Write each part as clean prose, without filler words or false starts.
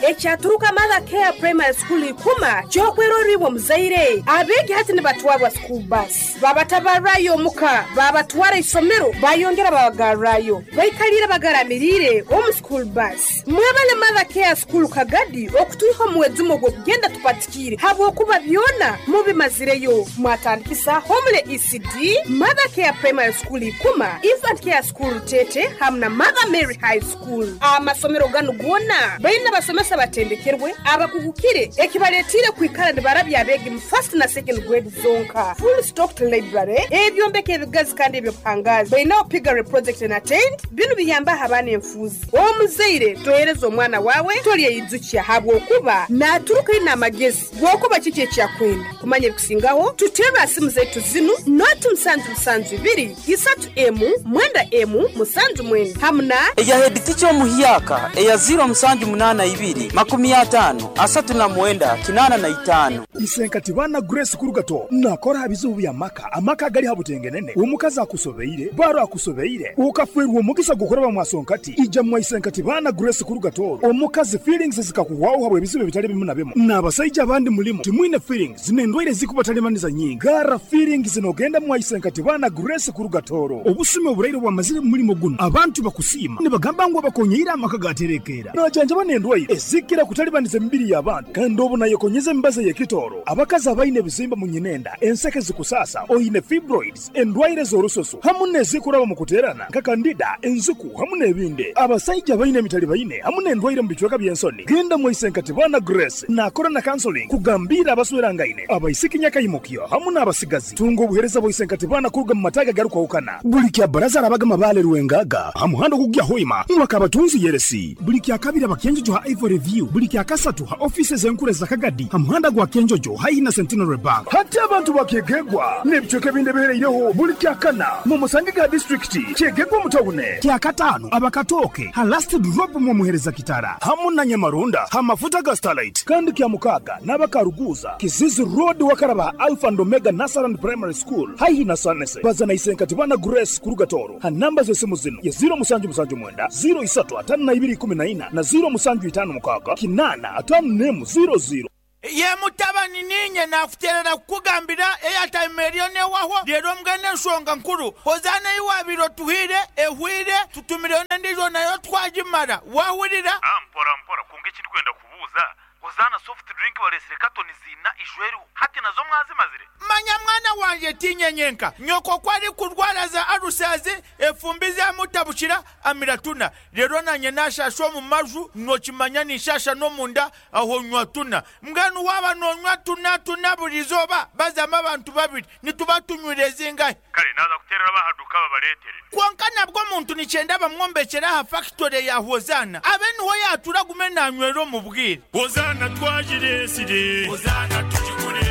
Ekyaturuka Mother Care Primary School Ikuma ky'okwerorra iwe omuzaire. Abeegi hati nibatwarwa school bus, babatabarrayo omuka, babatwara isomero, bayongera babagarrayo. Baikaliire bagaramiriire omu school bus. Mwebale Mother Care School Kagadi okutwiha omu mwejumo ogw'okugenda tupatikiire habwokuba byona mubimazireyo. Mwatandikisa Homely ECD, Mother Care Primary School Ikuma, Infant Care School Rutete hamu na Mother Mary High School. Amasomero ganu goona baine abasomesa abatendekerwe, abakugukire ekibaletiire kwikara nibarabya abeegi mu first na second grade zonka. Full stocked library, ebyombeko ebigazi kandi eby'obuhangaazi. Bainaho piggery project and attained. Binu biyambaho abaana enfuuzi. Omuzaire tohereza omwana waawe tolyeyijukya habwokuba naaturuka aine amagezi g'okuba kiki eki akwenda. Kumanya ebikusingaho, tuterre ha simu zaitu zinu, noti musanju musanju ibiri, isatu emu, mwenda emu, musanju mwenda hamu na. Eya heeditica omuhyaka eya ziiro musanju munaana ibiri, makumi ataano, asatu na mwenda, kinaana na itaano. Isenkati baana Grace Kurugato nakora ha bizibu bya maka, amaka agali ha butengenene, omukazi akusobeire, baro akusobeire, okafwerwa omugisa gw'okuraba mwa Sonkati, ija mwa Isenkati baana Grace Kurugato, omukazi feelings zikakuhwaho habw'ebizibu ebitali bimu na bimu, n'abasaija abandi mulimu timwine feelings n'endwaire ezikubatalibaniza nyingi, garra feelings n'ogenda mwa Isenkati baana Grace Kurugatoro. Obusumi oburaire obwamazire mu mulimo gunu, abantu bakusiima nibagamba ngu abakonyeire amaka gaterekeera. Najanjaba n'endwaire ezikira kutalibaniza emibiri y'abantu kandi obu nayekonyeza emibazi ey'ekitooro. Abakazi abaine ebizimba mu nyinenda, enseke zikusaasa, oine fibroids, endwaire z'orususu hamu n'ezikuraba omu kuteerana nka kandida, enziku hamu n'ebindi. Abasaija abaine emitalibaine hamu n'endwaire omu bicweka by'ensoni, genda mwaise Nkatibana Grace naakora na counseling kugambiira abaswerangaine, abaisiki nyakaimukyo hamu n'abasigazi. Tunga obuheereza bwa Isenkatibana kuruga mu mataagi agarukwahukana. Buli kya Baraza arabaga Mabaale Rwengaga ha muhanda ogukugya Hoima mwaka Abatunzi Yeresi. Buli kya Kabiri aba Kyenjojo ha Ivory View. Buli kya Kasatu ha ofiisi ez'enkuru eza Kagadi ha muhanda gwa Kyenjojo haihi na Centenary Bank. Hati abantu ba Kyegegwa n'ebicweka ebindi ebihereireho buli kya Kana mu musange ga disiturikiti Kyegegwa omu tawune. Kya Kataano aba Katooke ha Last Drop mw'omuhereza Kitara hamu na Nyamarunda ha mafuta ga Starlight. Kandi kya Mukaaga n'aba Karuguuza, Kizizi Road wakaraba ha Alpha and Omega Nursery and Primary School haihi na Sanese. Baza na Isenkatibana Grace kuruga Tooro ha namba z'esimu zinu ye ziiro musanju musanju mwenda, ziiro isatu ataano na ibiri ikumi na ina na ziiro musanju itaano mukaaga kinaana ataano n'emu ziiro ziiro. Ye mutabani, niinye naakuteerera kukugambira eyataima eriyo neehwaho. Reero mbwenu enshonga nkuru, Hozaana ei waabaire otuhaire ehwaire, tutumireyo n'endiijo nayo twagimara. Waahurira? Mpora mpora, kwonka eki ndikwenda kubuuza, Hozaana soft drink bareetsire katoni ziina ijo eriho, hati nazo mwazimazire? Manya mwana wangye, tiinye nyenka. Nyoko ku arikurwara za alusazi, efumbi zamutabukira, amira tuna. Reero naanye naashaasha omu maju, nookimanya ninshaasha n'omunda, aho nywa tuna. Mbwenu waaba noonywa tuna tuna buri izooba, bazamu abantu babiri, nituba tunywire zingahi? Kare naaza kuteerera ab'aha duuka babareetere. Kwonka nabwo omuntu nikyenda bamwombekyere aha fakitore ya Hozaana, abe niho yaatuura agume naanywera omu bwire. Hozaana twagireetsire. Hozaana tugigure.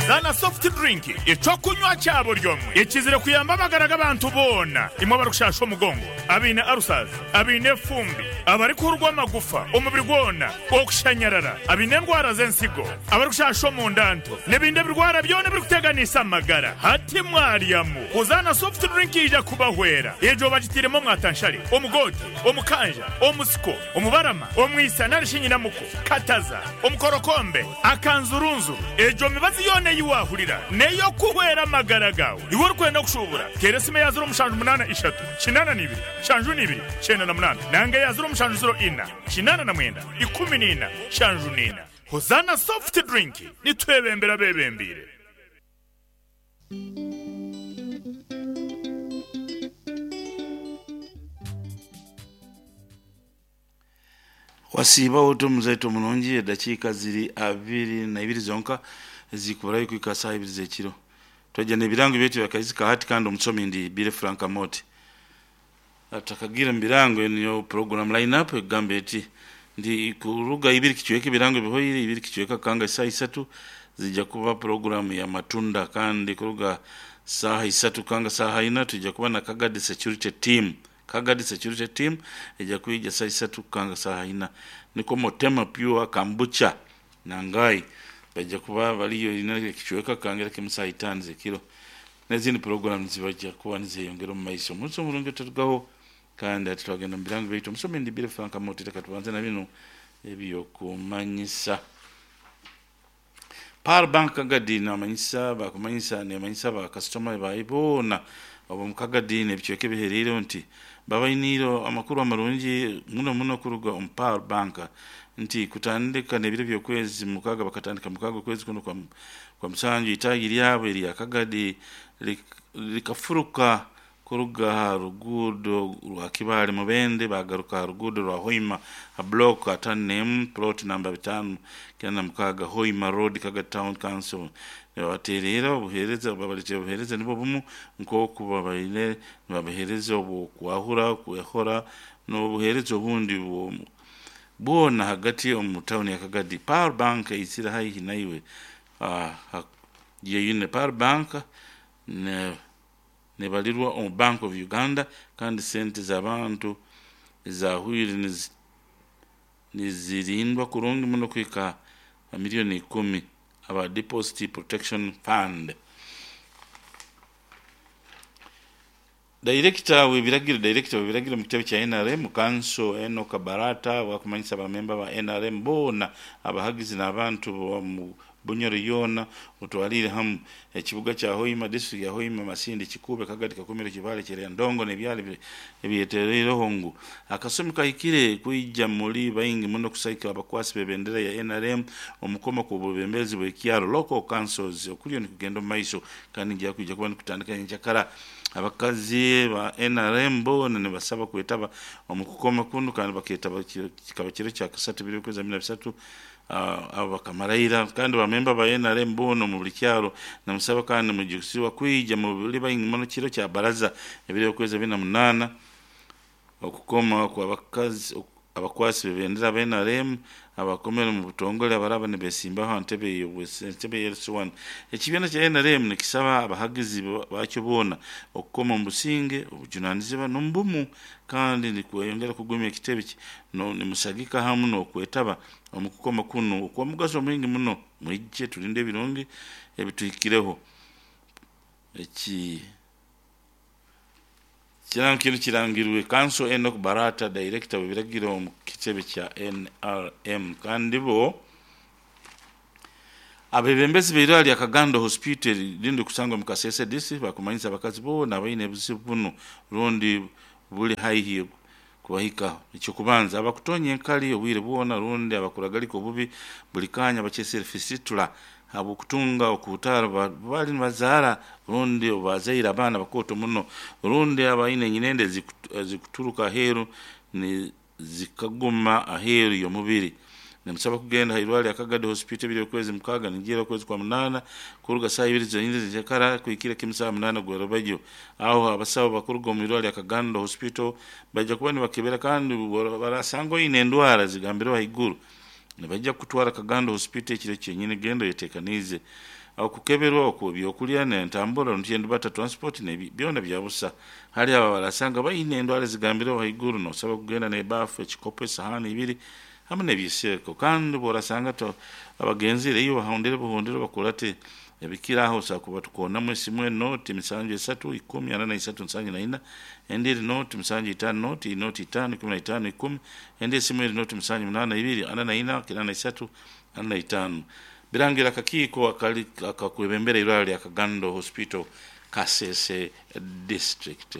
Zaana Soft Drink, eky'okunywa kya buri omwe ekizire kuyamba amagara g'abantu boona, imwe abarikushasha omugongo, abaine ulcers, abaine efumbi, abarikuhurwa amagufa omubiri gwona, okushanyarara, abaine endwara z'ensigo, abarikushasha omunda nto, n'ebindi ebirwara byona ebirikuteganiisa amagara. Hati mwaryamu. Hozaana Soft Drink yaija kubahwera. Egyo bagitairemu omwatanshare, omugoote, omukanja, omusiko, omubarama, omwisa nari shi nyinamuko, kataza, omukorokombe, akanzurunzuru. Egyo mibazi yoona ei waahurira n'ey'okuhwera amagara gaawe. Iwe orikwenda kushuubura, teera esimu eya ziro mushanju munaana ishatu, kinaana na ibiri, nshanju na ibiri, kyenda na munaana nanga eya ziro mushanju ziro ina, kinaana na mwenda, ikumi na ina, nshanju na ina. Hozaana Soft Drink, nitwebembera abeebembeire. Wasiiba ota omuzaito omurungi edakiika ziri abiri na ibiri zonka ezikuburayo kuhika saaha ibiri z'ekiro. Twaija n'ebirango byaitu bya Kaizi ka hati kandi omusomi ndi Billy Frank Amooti. Tutakagiire mu birango enu niyo program line up ekugamba eti nti kuruga ibiri kicweka ebirango bihoire, ibiri kicweka kukanga esaaha isatu zija kuba program ya matunda kandi kuruga saaha isatu kukanga saaha ina twija kuba na Kagadi Security Team. Kagadi Security Team eija kwija saaha isatu kukanga saaha ina. Nikwo Motema Pure Kambucha na Ngai baija kuba bariyo ina ekicweka kukangira kimu saaha itaano z'ekiro. N'ezindi puroguraamu nizibaija kuba nizeyongera omu maiso. Omunsi omurungi otarugaho. Kandi hati twagenda mu birango byaitu. Omusomi ndi Billy Frank Amooti, leka tubanze na binu ebyokumanyisa. Pearl Bank Kagadi namanyisa bakumanyisa nemanyisa bakasitoma bayi boona omu Kagadi n'ebicweka ebihereireho nti babainiire amakuru amarungi muno muno kuruga omu Pearl Bank nti kutandika n'ebiro by'okwezi mukaaga, bakatandika mukaaga okwezi kuno kwa musanju, itaagi lyabo erya Kagadi likafuruka kuruga ha ruguudo rwa Kibaale Mubende bagaruka ha ruguudo rwa Hoima ha block 51 plot namba 596 Hoima Road, Kagadi Town Council. Nibabateerera obuheereza, babaletera obuheereza nibwo bumu nk'oku babaire nibabaheereza obw'okwahura, kwehora n'obuheereza obundi bwona hagati omu tawuni ya Kagadi. Pearl Bank eizire haihi naiwe. Yeyune Pearl Bank nebalirwa omu Bank of Uganda, kandi sente z'abantu ezahwire nizirindwa kurungi muno kuhika ha miliyoni 10 aba Deposit Protection Fund. Director w'ebiragiro mu kitebe kya NRM Kanso Enock Barata wakumanyisa abamemba ba NRM boona, abahagizi n'abantu mu Bunyoro yoona, otwalire hamu ekibuga kya Hoima, district ya Hoima, Masindi, Kikuube, Kagadi, Kakumiro, Kibaale, Kireya, Ndongo n'ebyalo ebyetereireho ngu akasumi kahikire kwija muri baingi muno kusaika abakwasi b'ebendera ya NRM omukoma ku bwebembezi bw'ekyaro, local councils, okuliyo nikugenda omu maiso kandi nija kwija kuba nikutandika nyenkyakara. Abakazi ba NRM boona nibasaba kwetaba omu kukoma kunu, kandi baketaba kikaba kiro kya kasatu 2023, abo bakamaraira. Kandi bamemba ba NRM boona omu buli kyaro namusaba kandi mujukisibwa kwija mubuli baingi muno kiro kya baraza 28 okukoma kw'abakazi abakwasi b'ebendera ba NRM abakomere mu butongole abaraba nibesimbaho aha ntebe ya LC1. Ekibiina kya NRM nikisaba abahagizi bakyo boona okukoma omu businge, obujunanizibwa n'omu bumu, kandi nikweyongera kugumya ekitebe nimusagika hamu n'okwetaba omu kukoma kunu okw'omugaso mwingi muno. Mwije tulinde ebirungi ebituhikireho. Eki kirango kinu kirangirwe Kanso Enock Barata, director w'ebiragiro omu kitebe kya NRM. Kandi bo abebembezi b'eirwaro lya Kagando Hospital rindi kusangwa mu Kasese District bakumanyisa abakazi boona abaine obuzibu bunu rundi buli haihi kubahikaho. Ekyokubanza, abakutonya enkali obwire bwona rundi abakuragalika obubi buli kanya, bakyesere fistula, habw'okutunga okuhutaara bali nibazaara rundi bazaire abaana bakooto muno, rundi abaine enyinende ezikuturuka aheeru zikaguma aheeru y'omubiri, nimusaba kugenda ha irwaro lya Kagadi Hospital 2 okwezi mukaaga ningira okwezi kwa munaana, kuruga saaha 2 zonyini zenkyakara kuhikira kimu saaha 8 gwerobajyo. Aho abasawo bakuruga omu irwaro lya Kagando Hospital bajja kuba nibakebera, kandi barasanga oine endwara zigambireho haiguru, nibajja kukutwara Kagando Hospital ekiro kyenyini. Genda oyetekaniize. Aho kukeberwa okwo, ebyokulya n'entambura bata transport byona bya busa. Hali abo barasanga baine endwara zigambireho haiguru, nosaba kugenda n'ebaafu, ekikopo, esahani ibiri hamu n'ebyiseeko. Kandi bworasanga abagenzire iyo bahondere buhondere bakurate ebikiraho, osobola kuba tukonamu esimu eni 073 10 43 74, endi eri 075 0 0 5 15 10, endi esimu eri 078 2 44 83 45. Birangira akakiiko akali akakwebembera irwaro lya Kagando Hospital, Kasese District.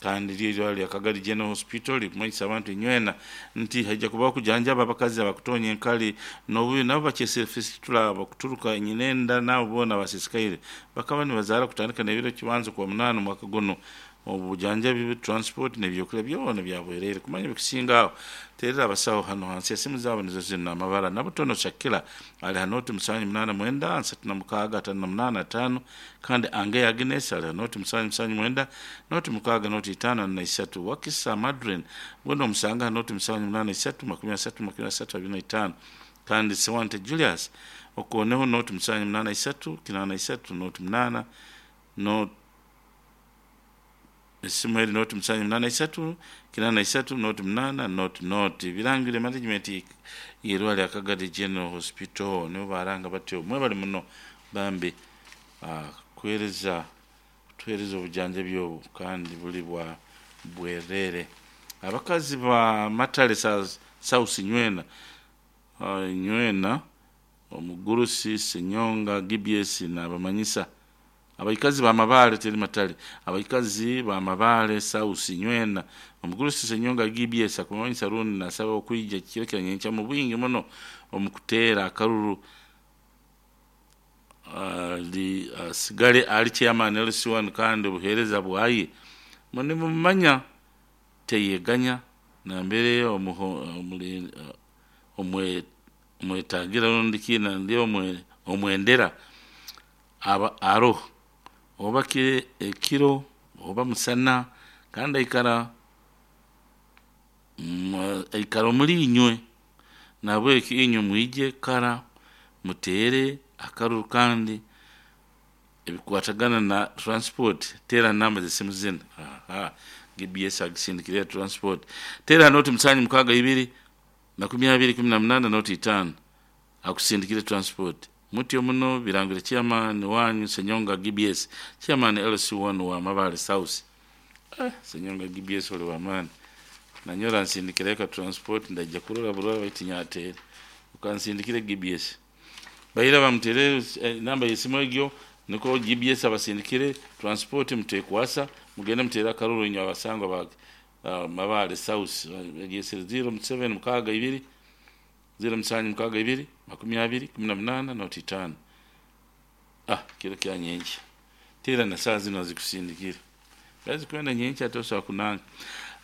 Kandi ryo irwaro lya Kagadi General Hospital likumanyisa abantu inywena nti haija kubaho kujanjaba abakazi abakutonya enkali n'obubi, nabo bakyesere fistula, abakuturuka enyinenda, nabo boona abasisikaire bakaba nibazaara, kutandika n'ebiro kibanza kwa munaana omwaka guno. Obujanjabi, transport n'ebyokulya byona byabwereere. Kumanya ebikusinga aho, terera abasawo hano hansi, esimu zaabo nizo zinu amabara. Nabutono Shakira ali ha 078 36 58 5, kandi Ange Agnes ali ha 079 06 05 43. Wakisa Madrin gwena omusanga ha 078 30 30 25, kandi Sewante Julius okoneho 078 83 08 no esimu eri 078 83 08 00. Birangire management y'irwaro lya Kagadi General Hospital, nibo baranga batyo. Mwebali muno bambi kuhereza kutuhereza obujanjabi obu kandi buli bwa bwerere. Abakazi ba Matale South Nywena, Nywena omugurusi Senyonga GBS nabamanyisa abaikazi ba Mabale teri Matale, abaikazi ba Mabale South Nywena omugurusi Senyonga GBS akumanyisa rundi nasaba okwija kiro kya nyenkya mu bwingi muno omukuteera akaruru asigale ali chairman LC1 kandi obuheereza bwaye munimumanya teyeganya nambere omwetagira rundi kina ndi omwendera aba aroho oba ekiro oba musana kandi aikara omuri inywe, nabweki inywe mwije kara mutere akaruru kandi ebikwatagana na transport tera namba zesimu zino. Aha, GBS agisindikire transport tera noti 762 20 18 noti 5 akusindikire transport. Mutyo muno birangire chairman wanyu Senyonga GBS chairman LC1 wa Mabale South. Senyonga GBS oli wa maani nanyora nsindikire ka transport ndajja kurora burora baitinya atere ukansindikire GBS baira bamutere namba yesimu egyo niko GBS abasindikire transport mutekwasa mugende mutera akaruru inyo abasangwa ba Mabale South 07 62 0762 20 18 noti 5. Kiro kya nyenki tera na saa zino zikusindikira bazi kwenda nyenki atosa kunanga.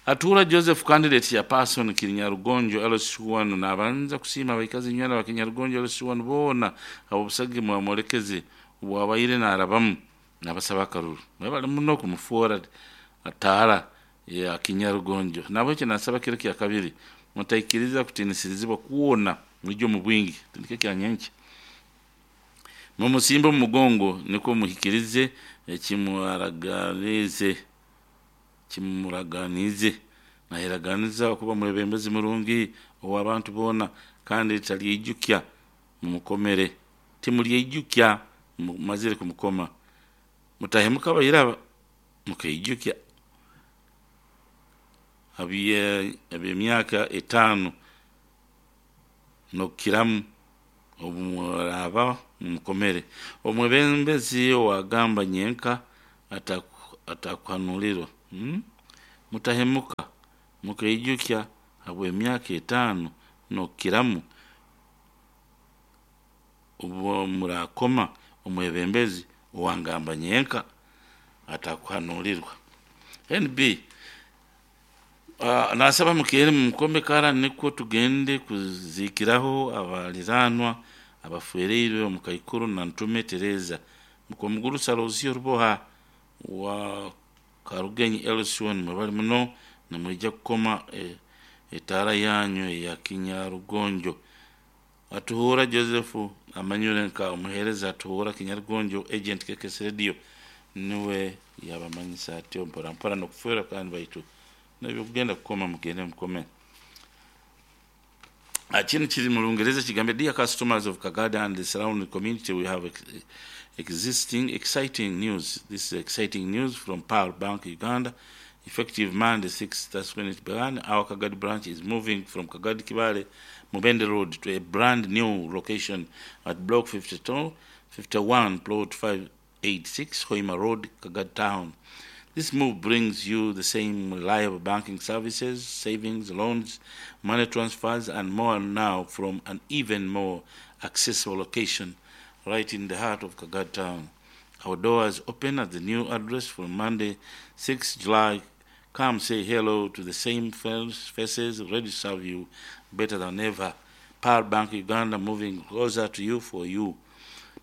Atura Joseph candidate ya person Kinyarugonjo LC1 nabanza kusima abaikazi nywena ba Kinyarugonjo LC1 bona abo busagi mwamolekeze bwabaire narabamu nabasaba akaruru mwebale muno kumufuora atara ya Kinyarugonjo nabo nasaba kiro kya kabiri mutaikiriza kutinisirizibwa kuona mujyo mu bwingi tindike kya nyenki mumusimba mu mugongo niko muhikirize kimwaraganize kimuraganize naheraganiza kuba mwebembezi murungi owabantu bona kandi taliyijukya mumukomere timuliyijukya mazire kumukoma mutahemuka bayiraba mukayijukya abiye emyaka 5 nokiramu obumuraba mumukomere omwebembezi wagamba nyenka atakwanulirwa. Mutahemuka mukayijukya habwe emyaka 5 nokiramu ubwo murakoma omwebembezi owangamba nyenka atakwanulirwa. NB nasaba mukere mukome kara niko tugende kuzikiraho abaliranwa abafereirwe omukaikuru na Ntume Tereza mukomuguru Salozio Ruboha wa Karugenyi LC1 mwebali muno namwijja kukoma etara yanyu ya Kinyarugonjo. Atuhura Joseph amanyure nka omuhereza atuhura Kinyarugonjo agent KKS Radio niwe yabamanyisa atyo mpora mpora nokufera kandi baitu nabyo kugenda kukoma mugende mukome. Chini chiri mu Lungereza kigambe, dear customers of Kagada and the surrounding community, we have existing exciting news. This is exciting news from Power Bank Uganda. Effective Monday 6th, that's when it began. Our Kagadi branch is moving from Kagadi Kibale Mubende Road to a brand new location at Block 52, 51, Plot 586, Hoima Road, Kagadi Town. This move brings you the same reliable banking services, savings, loans, money transfers, and more now from an even more accessible location right in the heart of Kagadi Town. Our doors open at the new address for Monday, 6 July. Come say hello to the same faces ready to serve you better than ever. Power Bank Uganda, moving closer to you for you.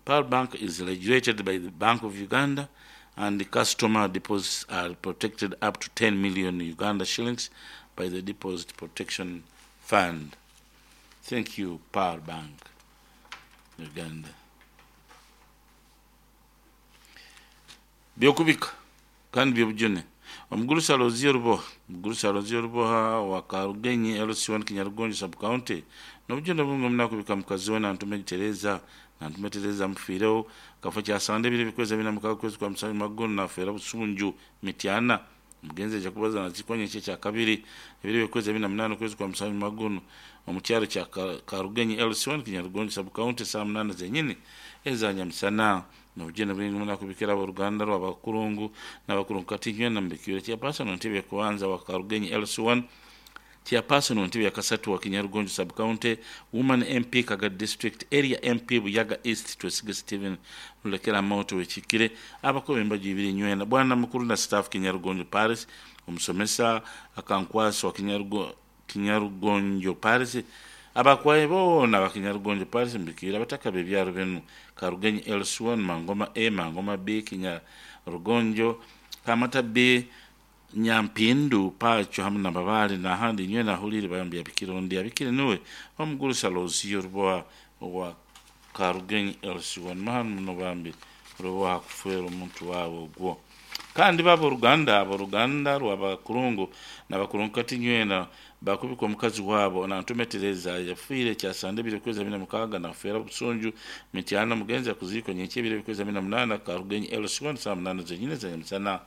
Power Bank is regulated by the Bank of Uganda, and the customer deposits are protected up to 10 million Uganda shillings by the Deposit Protection Fund. Thank you, Power Bank Uganda. Byokubika kandi byobujune. Omugurusi Alozio Ruboha, Omugurusi Alozio Ruboha wa Karugenyi LC1 Kinyarugonjo sub county. Nobujune bunge munakubika mukazi we Nantume Tereza, Nantume Tereza mufiireho kafo kya sande biri bikwezi bina mukaga kwezi kwa musanju magono nafeera Busunju Mityana Omugenzi aija kubaza naziikwa nyenkya ekyakabiri ebiro by'okwezi 28 okwezi kwa musanju mwaka gunu omu kyaro kya Karugenyi LC1 Kinyarugonjo sub county saa 8 zenyini eza nyamusana. N'obugeni bwingi muno akubikira ab'oruganda rw'abakurungu n'abakurungu kati nywena mubikiire chairperson entebe y'okubanza wa Karugenyi LC1, chairperson w'entebe ya kasatu wa Kinyarugonjo sub county, woman MP Kagadi district, area MP Buyaga East Twesige Stephen Rulekera Moto wekikire abakobe embaju ibiri nywena bwana mukuru na staff Kinyarugonjo Paris, omusomesa akankwasi wa Kinyarugonjo Paris, abakwaye boona aba Kinyarugonjo Paris mbikira abataka b'ebyaro binu Karugenyi LC1, Mangoma A, Mangoma B, Kinyarugonjo, Kamata B, Nyampindu, Pacho hamu na Babale n'ahandi nywena ahulire bayambi abikire ondi abikire niwe omugurusa Lozio Ruboa wa Karugenyi LC1 mahanu muno bambi Ruboa hakufera omuntu wawe ogwo. Kandi baba oruganda rw'abakurungu n'abakurungu kati nywena bakubika omukazi wabo Nantume Tereza yafiire kyasande ebiro kwezi 26 nafeera Busunju Mityana. Mugenzi akuziikwa nyenkya ebiro kwezi 28 Karugenyi LC1 saa 8 zenyine za nyamusana.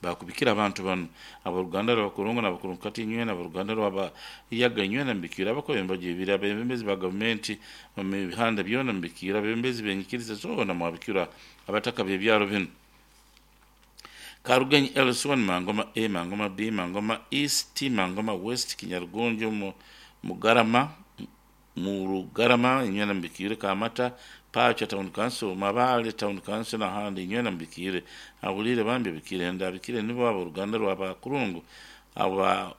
Bakubikira abantu banu aboruganda rw'abakurungu n'abakurungu kati nywena aboruganda rw'abayaga nywena mbikira abakobe embaju ibiri abebembezi ba gavumenti mu mihanda byona mbikira abebembezi b'enyikiriza zoona mwabikira abataka b'ebyaro binu Karugenyi LC1, Mangoma A, Mangoma B, Mangoma East, Mangoma West, Kinyarugonjo, Mugarama, Murugarama, inywena mbikire Kamata, Pacha Town Council, Mabale Town Council n'ahandi inywena mbikire ahulire bambi bikire ndabikire nibo aboruganda rw'abakurungu aba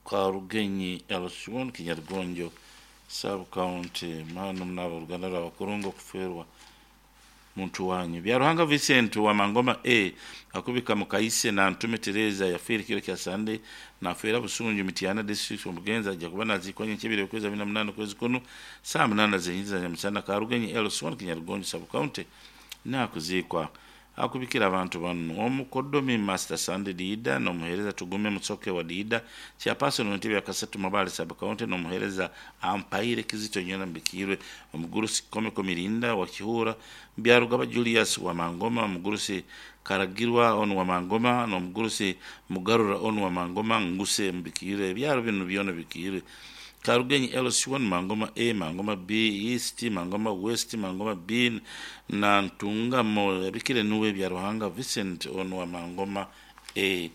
Karugenyi LC1 Kinyarugonjo sub county mano mnabo oruganda rw'abakurungu okuferwa muntu wanyu. Byaruhanga Vincent wa Mangoma A akubika mukaise na Ntume Tereza yafiire kiro kya Sande nafeera Busunju Mityana district. Omugenzi ajja kuba naziikwa nyenkya ebiro kwezi 28 kwezi kuno saa 8 zenyini nyamusana Karugenyi LC1 Kinyarugonjo sub county nakuziikwa. Akubikira abantu bano omukodomi Master Sande Diida n'omuheereza Tugume Musoke wa Diida chairperson w'entebe ya kasatu Mabale sub county n'omuheereza Ampaire Kizito nywena mbikirwe omugurusi Komeko Mirinda wa Kihura, Byarugaba Julius wa Mangoma, omugurusi Karagirwa onu wa Mangoma n'omugurusi Mugarura onu wa Mangoma Nguse mbikirwe ebyaro bino byona bikirwe Karugenyi LC1, Mangoma A, Mangoma B, East, Mangoma West, Mangoma B na Ntungamo abikire nuwe Byaruhanga Vincent onu wa Mangoma A.